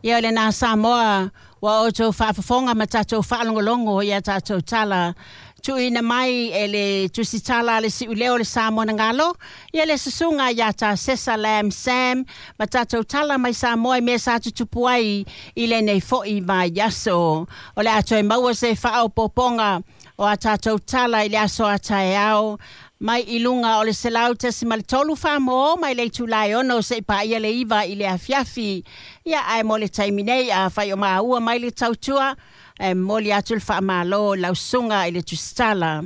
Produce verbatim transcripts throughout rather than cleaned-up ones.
Ia le nā Samoa ua outou faafofoga ma tatou faalogologo ia tatou tala tuuina mai e le tusitala le siuleo le Samoa na galo ia le susuga ia Tasesa Lam Sam ma tatou tala mai Samoa i mea sa tutupu ai i lenei fo'i vaiaso. O le a toe maua se faaopoopoga o a tatou tala i le aso a taeao mai i luga o le selau tesimale tolu whaamo mai le itula e ono se i paia le iva i le afiafi. Ia ae mo le taimi nei a whai o maua mai le tautua e moli atu le whaamalo lausunga i le tusitala.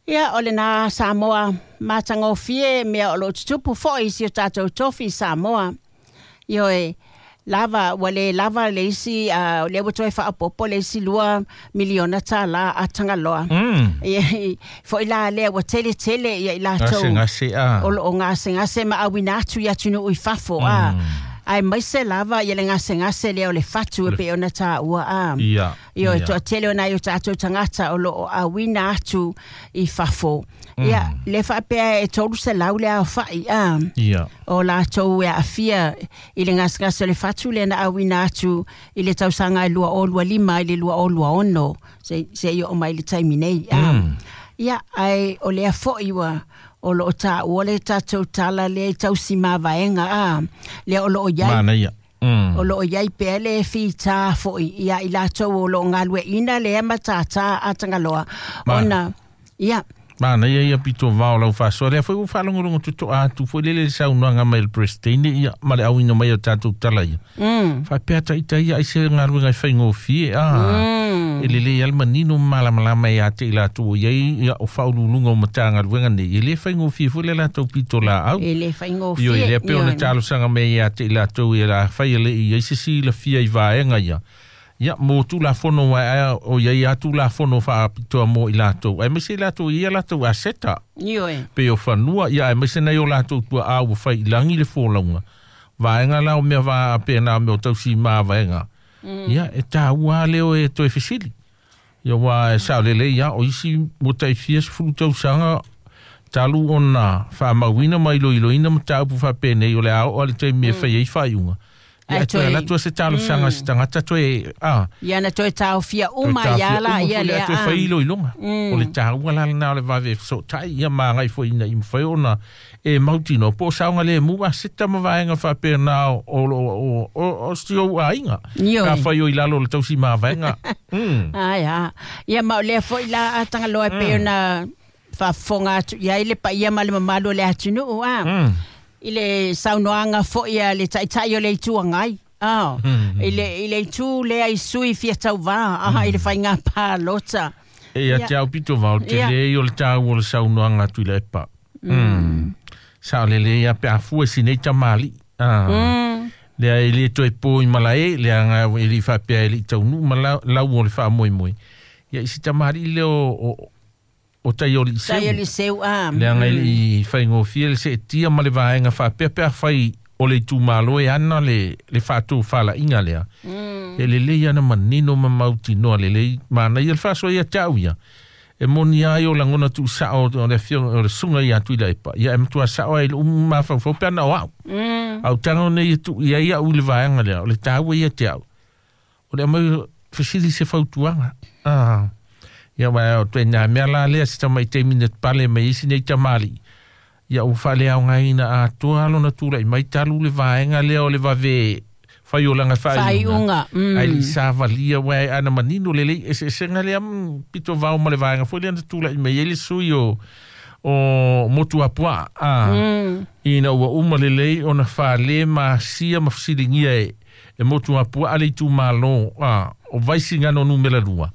Ia o le nā Samoa matagofie mea o lo tutupu foi si o tatou tofi Samoa. Ioe, lava ua le lava le isi uh, le ua toe faapopo le isi lua miliona tālā a Tagaloa. Mm. Ia, foi la lea ua tele tele ia i latou Gasegase a. o loo gasegase ma auina atu i atunuu i fafo a. Ae maise lava ia le gasegase lea o le fatu e pei ona taua a. Ia. Ioe, Ia. toatele o nai o tatou tagata o loo auina atu i fafo. Ia, le faapea e tolu selau le aofa'i a. Ia. O latou e aafia i le gasegase o le fatu lea na auina atu i le tausaga e lua o lua lima i le lua o lua ono se, se i oo mai le taimi nei. A. Ia, ae o lea fo'i ua o loo taua le tatou tala lea i tausi mavaega a. Lea o loo iai Manaia. Mm. o loo iai pea le fitā fo'i ia i latou o loo galueʻina lea matātā a Tagaloa. Ma- Ona, ia, Manaia ia pito vao lau faasoa. Lea foi ua faalogologo totoa atu foi lele le saunoaga mai le Presidente ia ma le auina mai o tatou tala ia. mm, Faapea taita ia ai se galuega e faigofie a. mm, E lelei ai le manino ma malamalama ia te i latou o iai ia o faauluuluga o Matagaluega nei. E le faigofie foi le latou pito laau. E le faigofie. Ioe, lea pei ona Ioe. talosaga mai ia te i latou ia la fai e le i ai se silafia i vaega ia. Ia, mo tulafono wa ae o iai a tulafono faapitoa mo i latou. Aemaise i latou ia latou aseta. Ioe. Pe o fanua, ia aemaise nai o latou tuaā ua fai i lagi le folauga. Vaega la o mea faapena mea o tausi mavaega. Ia, e tāua lea o e toe fesili. Ia ua e sao lelei ia, o isi ua taifia sefulu tausaga talu ona faamauina ma iloiloina mataupu faapenei o le a oo a le taimi e fai ai faaiuga. Ia, Ai e toe toe- alu atu se talosaga a se tagata toe, a, Ia na toe taofia toe uma ia taofia la uma ia foi lea lea toe a. fai iloiloga. O le taua la lena o le vave e fesootai ia magai foi ina i mafai ona e mautinoa po o saogalemu aseta ma vaega faapena o o o o o si ou aiga. Ioe. Pe afai o i lalo o le tausi mavaega. Mm. Ai a. Ia ma o lea foi la a Tagaloa e pei ona faafofoga atu iai le paia ma le mamalu o le atunuu a. Mm. I le saunoaga fo'i a le taitai o le itu agai. Ah, i le, i le itu lea i sui fia tauvā ah, i le faiga palota. E ia Ia. te au pito vao te Ia. lei o le tāua o le saunoaga atu i le epa. Mm. Sao lelei ia pe afua e sinei tamali'i. Ah. Mm. Lea e le toe po i malae, lea nga e le faapea e le i taunuu ma lau, lau o le faamoemoe. Ia i si tamali'i lea o, o, o tai o le Tai o iseu. le seu a. Leaga e le i faigofie le seetia ma le vaega faapea pe afai o le itumalo e ana le, le faatofalaiga lea. Mm. E lelei ana manino ma mautinoa lelei manaia le faasoa ia te au ia. E moni ai o lagona tuusao o le afioga o le suga ia Tuilaepa. Ia e matua sao ai i lou mafaufau pe ana o au. Mm. Au tago nei e tuu i ai au i le vaega lea, o le taua ia te au. O le aumai fesili se fautuaga. Ah. Ia wa o toe nā mea la lea se tamaitaimi na pale mai isi nei tamali'i. Ia ua faaleaogaina atoa lona tula'i mai talu le vaega lea o le vave fai o laga faaiuga. Faaiuga. Mm. Ai le i savalia uae ana manino lelei eseesega lea mm, pito vao ma le vaega foi lea na tula'i mai ai le sui o o Motuapua'a a Mm. ina ua uma lelei ona fale masia ma fesiligia e, e Motuapua'a le itumalo a o Vaisigano numera lua.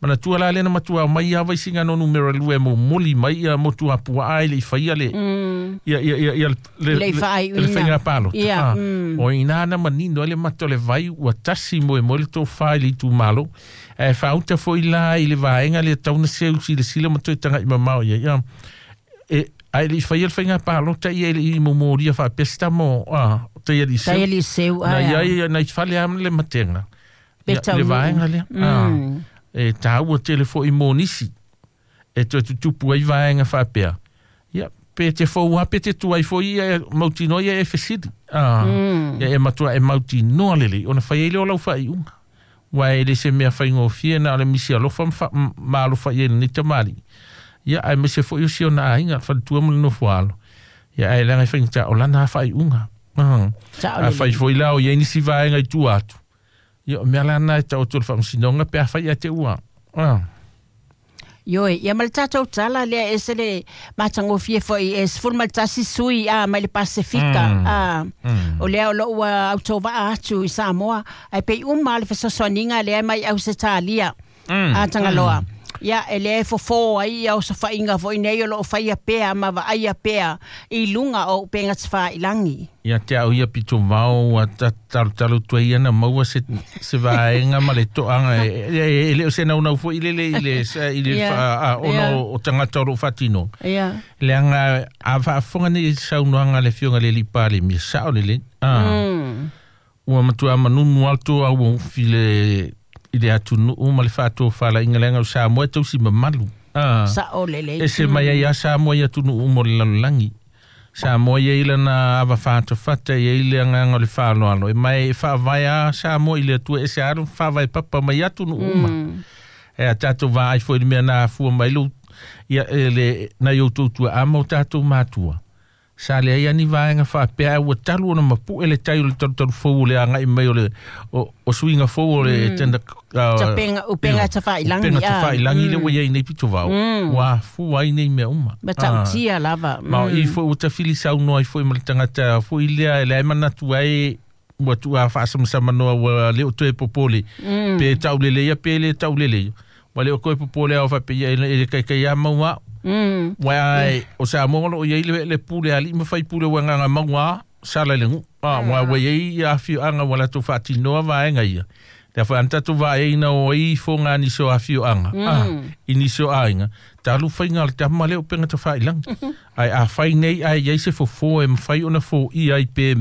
Manatua la lea na matua mai ia Vaisigano numera lua e momoli mai ia Motuapua'a e le i faia le Mm. ia ia ia ia le Le faaiuina. le faiga palota. Ia, Ah, mm. O ina na manino ai le mata o le vai ua tasi moe moe le tofā i le itumalo. Ae faauta foi la i le vaega lea tau na seu silasila ma toe taga'i mamao ia. Ia e ae le i faia le faiga palota ia e le i momolia faapea se tama o ah, o tai ali Tai seu. o le seu Na a. iai na i fale a le matega. Pe Ia, taunuu. le vaega lea. Ah, Mm. e tāua tele foi mo nisi. E toe tutupu ai vaega faapea. Ia, Pe te fou pe te tuai foi ia mautinoa ia e fesili. Ah, mm. Ia e matua e mautinoa lelei ona fai ai lea o lau faaiuga. Ua e le se mea faigofie na o le misi alofa ma alofa i ai lenei tamalii. Ia ae maise foi o si ona aiga faletua ma le nofo alo. Ia ae leaga e faigata o lana faaiuga. A fai foi la o iai nisi vaega i tua atu. Ia o mea lana e taoto le faamasinoga pe a fai ia te ua. Ah. Ioe, ia ma le tatou tala lea e se le matagofie foi e sefulu ma le tasi sui a mai le Pasifika mm. a mm. o lea o loo ua autovaa atu i Samoa ai pei uma le fesoasoaniga lea mai Ausetalia mm. a Tagaloa. Mm. Ia e le fofo ai ia o sofaiga foi nei o loo faia pea ma vaaia pea i luga o upenga tafailangi. Ia te au ia pito vao a talutalu tua ia na maua se, se vaenga ma le toaga e, e, e le o se naunau foi i le le i le, i le yeah. fa, a, ono yeah. o tagata o loo faatino. Yeah. Leaga a faafofoga nei saunoaga le afioga le alii Palemia sao lelei. Ah. Mm. Ua matua manunu alto au ufi le i le atunuu ma le faatofalaiga leaga o Samoa e tausi mamalu. Ah. Sao lelei. E se mai ai a Samoa i atunuu mo le lalolagi. Samoa ia i lana ava whātawhata ia i le anganga o le whaaloalo. E mai e whaavae a Samoa i le atua e se aro whaavae papa mai atu nu uma. Mm. E a tātou vaai foi le mea nā afua mai lo ia e le nai o tautua a mau tātou mātua. Sa le ai ani vaenga whaapea ua talu ona mapu e le tai o le talu talu fou o le angai mai o le o, o suinga fou o le mm. tenda uh, Tapenga upenga tafailangi upenga tafailangi mm. le ua iai nei pito vao mm. ua afua ai nei mea uma. Matautia lava. Mm. Ma i foi ua tafili saunoa ai foi ma le tagata foi lea e le ai manatu ai ua tu'a faasamsamanoa ua le o toe popole mm. pe tauleleia pe le tauleleia ua le o koe popole ao faapea e le kaikai a mau a'u. Mm. Ua ai o Samoa o lo iai le, le pule alii ma faipule ua agaga maua sala i le gu'u. Ah, ua ua iai ia afioaga ua latou faatinoa vaega ia. Lea foi ana tatou vaeaina o ai ifoga nisi o afioaga. Mm. Ah, i nisi o aiga. Talu faiga o le tama lea o upega tafailagi. Ae afai nei ae iai se fofo e mafai ona foia ai pe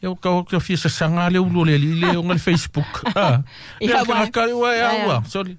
ia o ka ka fia sasaga le ulu o le alii le oga le Facebook. Ah. Ia Lea wa- tagata ua e Ia, aua. Sorry.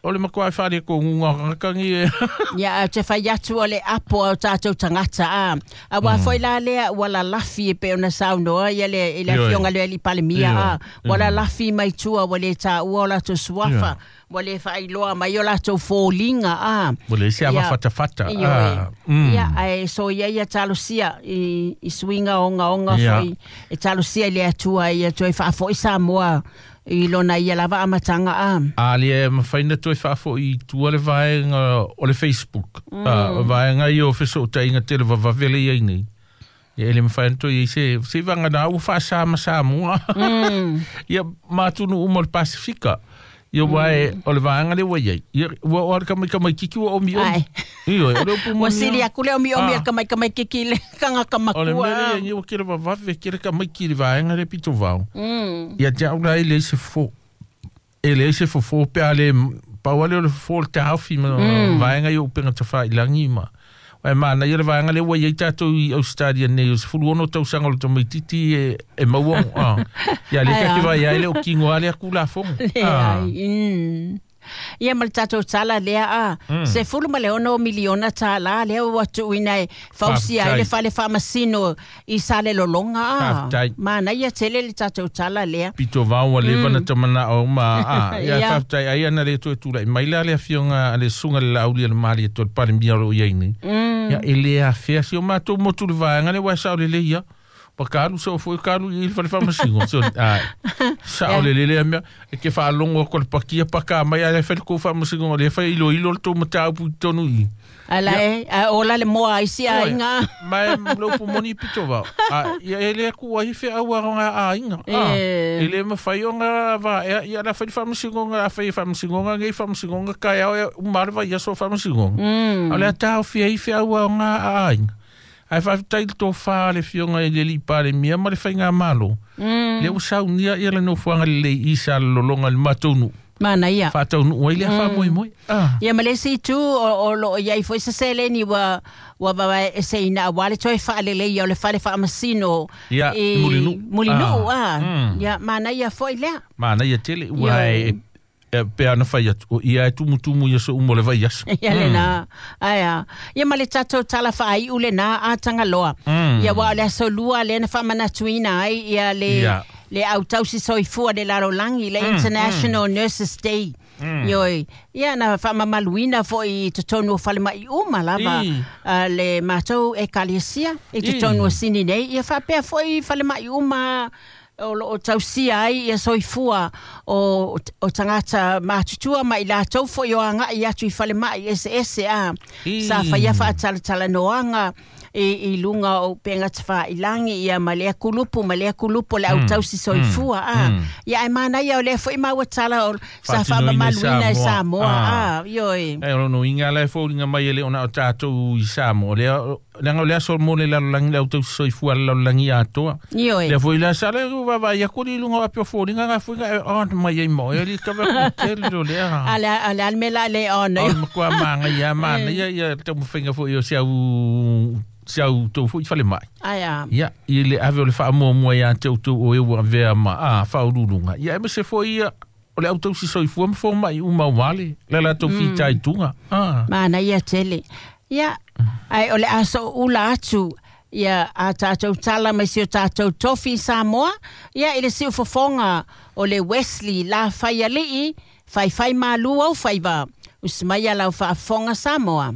O le matua e whaare ko ngunga kangi e. Ia, te whai atu o le apo o tātou tangata. A, a wā foi la lea, ua la lafi e pe ona saunoa, ia le, i le Ioe. afioga le alii Palemia. Ioe. A, ua la lafi mai tua, ua le tāua o latou suafa, ua le whailoa mai o latou fōliga. A, Ua le se ava Ia. fatafata. Ioe. Ah, mm. Ia, ae so ia ia talosia i, i suiga onga onga Ia. foi, e talosia i le atua ia toe faafoi Samoa i lona ia lava amataga a. A le mawhai na toe whaafo i tua le vaenga o le Facebook. Mm. Ah, vaenga i o fesootaiga tele vavavele iai nei. Ia ele mawhai na toe i se, se vanga na ua whaasa ma Samoa. Mm. Ia mātunu uma o le Pasifika. Ia wae o le vaenga le ua iai. Ia ua o ka mai ka mai kiki ua omi omi. Ai. Ioe, o le upu Ua moni sili a. aku le omi omi Ah. a ka mai ka mai kiki le kanga ka O le makua. mele ia ua kere vavave kere ka mai kiri vaenga le pito vao. Mm. Ia te au la e le se fofo. E le se fofo pe a le pau ale o le fofo o le taofi ma Mm. vaenga i o upenga tafailangi ma. Wai mana ia le vaenga le ua iai tātou i Australia nei o sefulu ono tausaga o le tamaititi e, e maua. Ah. Ia le Ai, kake ah. vai ai le o kingo ale aku la fongo. Leai. Mm. Ia ma le tatou tala lea a. Mm. Se fulu ma le ono miliona tālā lea ua tuuina e fausia ai le fale faamasino i Salelologa a. Faafetai. Mana ia tele le tatou tala lea. Pito vao ua leva na tamanao ma a ia Ia. faafetai ai ana le toe tula'i mai la le afioga a le suga le laauli a le mali e toe le Palemia o loo iai nei. Mm. Ia e le afea si o matou motu le vaega le ua e sao lelei ia. Pa kalu so foi kalu i le fale faamasino. So ai. Sao lelei lea mea e ke faalogo aku le pakia paka mai a le fai le kou faamasinoga le fai iloilo le tou mataupu i tonu i. Ala e, a ola le moa ai si aiga. Ma e le upu moni pito vao. A ia e le aku ai feau a ga aiga. Ah, E. e le mafai ona vaea ia la fai le faamasinoga a fai faamasinoga nei faamasinoga kaeao e uma le vaiaso o faamasinoga. Mm. A o le ataofia ai feau a ga aiga. Ae faafetai le tofā le fioga i le alii Palemia ma le faigamalo. Mm. Lea ua saunia ia le nofoaga lelei i Salelologa i le matou nuu. Mana ia. Faataunuu ai lea faamoemoe. Ah. Ia ma le isi itu o, o loo iai foi se seleni ua ua vavaeseina auā le toe faaleleia o le fale faamasino Ia, i Mulinuu. Mulinuu Ah. a. Mm. Ia manaia foi lea. Manaia tele ua Ioe. e E pe ana fai atu o ia e tumutumu ia so umo le vai aso. Ia lena, aia. Ia ma le tatou tala faaiu lena a Tagaloa. Ia ua o le aso lua lea na faamanatuina ai ia le Ia. le autausi soifua le lalolagi le International Nurses Day. Ioe, ia na faamamaluina foʻi i totonu o falemaʻi uma lava I. a le matou ekalesia i totonu o Sini nei ia faapea foʻi falemaʻi uma o loo tausia ai ia soifua o, o tagata matutua ma i latou foʻi o agaʻi atu i falemaʻi eseese a I. sa faia faatalatalanoaga i, i luga o upega tafailagi ia ma lea kulupu ma lea kulupu le autausi soifua a ia ae manaia o lea foʻi maua tala o sa Faatinoina i faamamaluina i Samoa. Samoa Ah. a ioe E o no inga la e fōlinga mai e le ona o tātou i Samoa. Lea, leanga o le aso mo le lalolagi le autausi soifua le lalolagi atoa. ioe Lea foi la sale u vava ia kuri lunga api o fōlinga ngā fuinga e on mai ei mo e li kawe ku tele o lea. a le a le a le mea la le ona O makua manga ia mana ia ia taumafaiga foi o si au si au tou foi fale mai. aia Ia, i le ave o le faamuamua ia te outou o e ua avea ma a faauluuluga. Ia e mese foi ia o le autausi soifua ma fomai uma umale. Le latou fitaituga. Ah. Manaia tele. Ia, ai o le aso ula atu ia a tātou tala mai si o tātou tofi i Samoa, ia i le siufofoga o le Wesley la whaialii, whai whai malu au whaiva. Usmaia lau faafofoga Samoa.